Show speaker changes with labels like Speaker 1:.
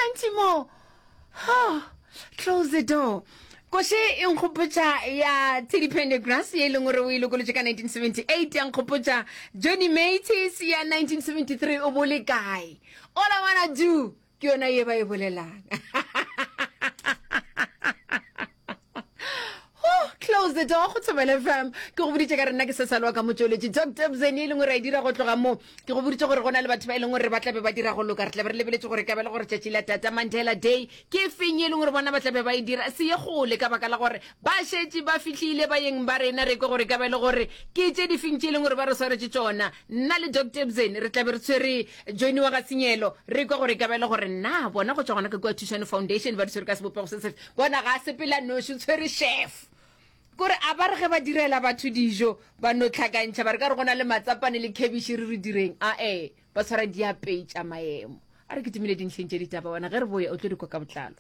Speaker 1: Plenty more. Oh, close the door. Koše e nkgopotša ya Teddy Pendergrass ye e leng gore o e lokolotše ka 1978 ya nkgopotša Johnny Mathis ya 1973 o bo le kae. All I wanna do ke yona ye ba e bolelang. Oh, close the door go Thobela FM. Ke go boditše ka re nna ke se salwa ka motšweletši Dr. Bzeni e leng gore a e dira go tloga mo. Ke go boditše gore go na le batho ba e leng gore ba tlabe ba dira go loka. Re tlabe re lebeletše gore e ka ba le gore tšatši la Tata Mandela Day ke feng e leng gore bona ba tlabe ba e dira. Se ye kgole ka baka la gore ba šetše ba fihlile bayeng ba rena re kwe gore e ka ba e le gore ke tše difeng tše e leng gore ba re swaretše tšona. Nna le Doctor Bzeni re tlabe re tshwere Johnny wa ga Senyelo re kwe gore e ka ba e le gore na bona go tšwa gona ka kua Thušano Foundation ba di tshwere ka sebopego se sefe. Bona ga a sepela noši, o tshwere chef. Kore a ba re ge ba direla batho dijo ba no hlakantšha ba re ka re go na le matsapane le khebiši re re direng. Ae, ba tshwara diapei tša maemo. A re kitimele dintlheng tše ditaba wena ge re boya o tlo di kwa ka botlalo.